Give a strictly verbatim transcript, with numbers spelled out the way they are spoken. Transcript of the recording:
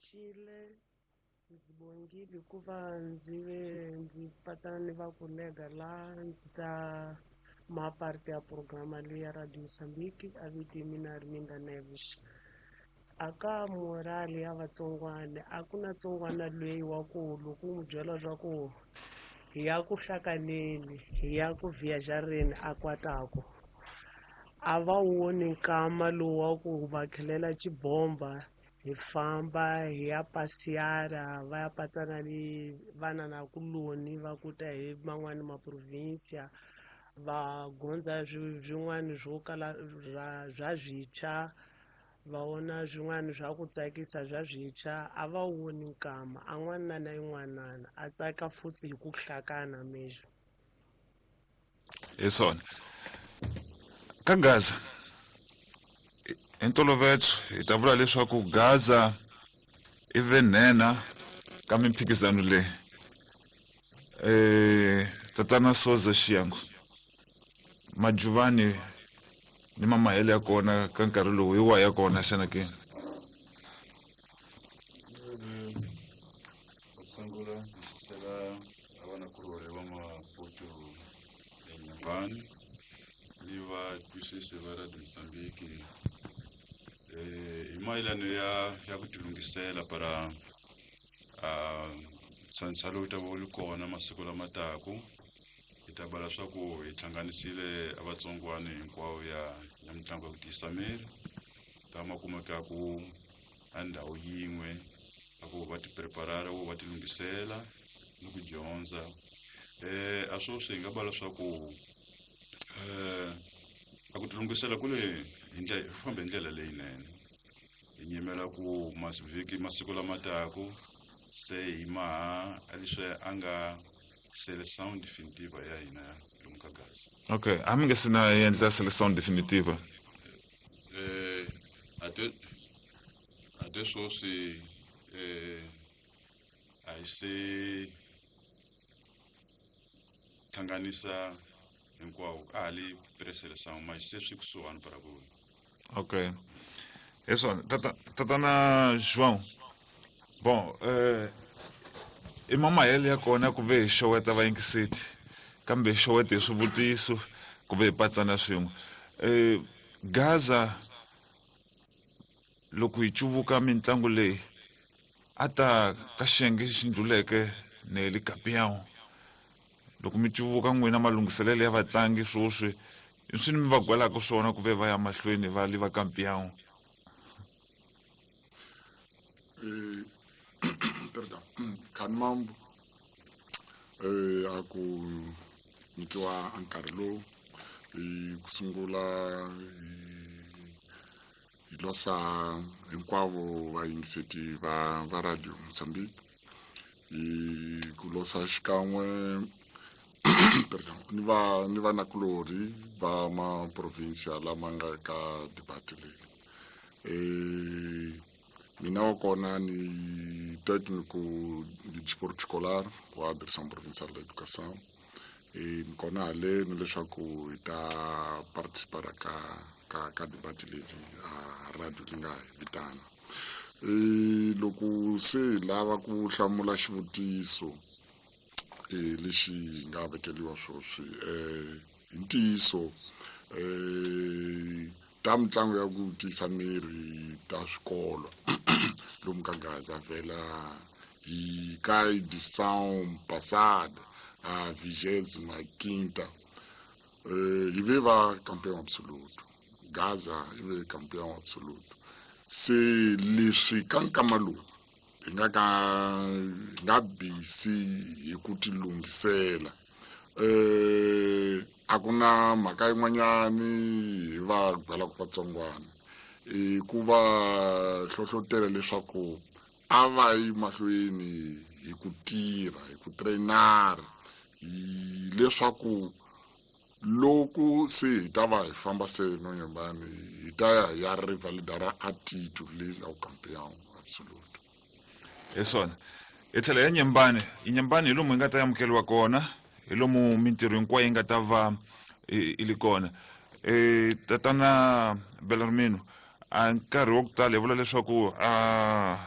Pfuxile, ndzi bongile hikuva ndzi ve ndzi patsana ni vakolega laha ndzi ta ma parte ya programa leyi ya Radio Mozambique. A vito mina Arminda Neves. A ka morale ya vatsongwana, a ku na tsongwana loyi wa ku loko u n'wi byela swa ku hi ya ku hlakaneni, hi ya ku viajareni, a kwataku. A va woni nkama lowu wa ku va khelela xibomba hi famba hi ya pasiyara, va ya patsana ni vana na kuloni va kuta hi man'wani maprovinsia, va gondza swin'wana swo kala bya swintshwa, va vona swin'wana swa ku tsakisa bya swintshwa. A va woni nkama a n'wana na yin'wanana a tsaka futhi hi ku hlakana mesmo. Hi swona ka Gaza hi ntolovelo hi ta vula leswaku Gaza i ve nhenha ka mimphikizano leyi. Eh tatana Soza Xiyangu, Majuvani ni mamahele ya kona ka nkarhi lowu hi wa ya kona xana ke? Sungula ndzi a vanakulorhi va Maputo eNyembani ni vatwisisi va Radio Mozambique eh hi mayelano ya ya ku tilunghisela para ntsantsa lowu ta va wu ri kona masiku lama taku. Hi ta bala swa ku hi hlanganisile a vatsongwana hinkwavo ya ya mitlangu ya ku tiyisa miri lama kumekaku a ndhawu yin'we, a ku va ti preparara wo va ti lunghisela ni ku dyondza. Eh a sweswi hi nga bala swa ku eh a ku tilunghisela ku le hi ndlela hi fambe hi ndlela leyinene. Hi nyimela ku masivhiki masiku lama taku se hi maha leswi a nga seleção definitiva ya hina lomu ka Gaza. Okay, a mi nge se na endla seleção definitiva? Eh ate ate sweswi eh a hi se hlanganisa hinkwawo, a ha li pre-seleção, mas se swi kusuhani para ku. Okay, hi swona tata tatana João. Bon, eh i mamahele ya kona ku ve hi xoweta vayingiseti, kambe hi xowete hi swivutiso ku ve hi patsana swin'we. Eh Gaza loko hi cuvuka mitlangu leyi a ta ka xiyenge xi ndluleke ne le campeão, loko mi cuvuka n'wina malunghiselelo ya vatlangi swoswi i swi mi va gwelaka swona ku ve va ya mahlweni va li va campeão? Eh perdão, Khanimambo, eh a ku nyikiwa nkarhi lowu hi ku sungula hi losa hinkwavo vayingiseti va va Radio Mozambique, hi ku losa xikan'we, perdão, ni va ni vanakulorhi va maprovinsia lama nga ka debate leyi. Eh mina wa kona ni técnico de desporto escolar wa Direção Provincial da Educação, e ni kona haleni leswaku hi ta participar ka ka ka debate leyi a radio li nga hi vitana. E loko se hi lava ku hlamula xivutiso e lexi hi nga vekeliwa swoswi, eh hi ntiyiso eh ta mitlangu ya ku tiyisa miri ta swikolo lomu ka Gaza vhela hi ka edição passada, a vigésima quinta, eh hi ve va campeão absoluto. Gaza i ve campeão absoluto. Se leswi ka nkama lowu hi nga ka hi nga busy hi ku tilunghisela, eh a ku na mhaka yin'wanyani hi va byelaka vatsongwana i ku va hlohlotela leswaku a va yi mahlweni hi ku tirha, hi ku trainara, hi leswaku loko se hi ta va hi famba se no Nyembani hi ta ya hi ya rivalidara a titulu leyi ya campeão absoluto. Hi swona, hi tlhela ya Nyembani. I Nyembani hi lomu hi nga ta amukeliwa kona, hi lomu mintirho hinkwayo yi nga ta va i li kona. E tatana Belarmino, a nkarhi wa ku tala hi vula leswaku a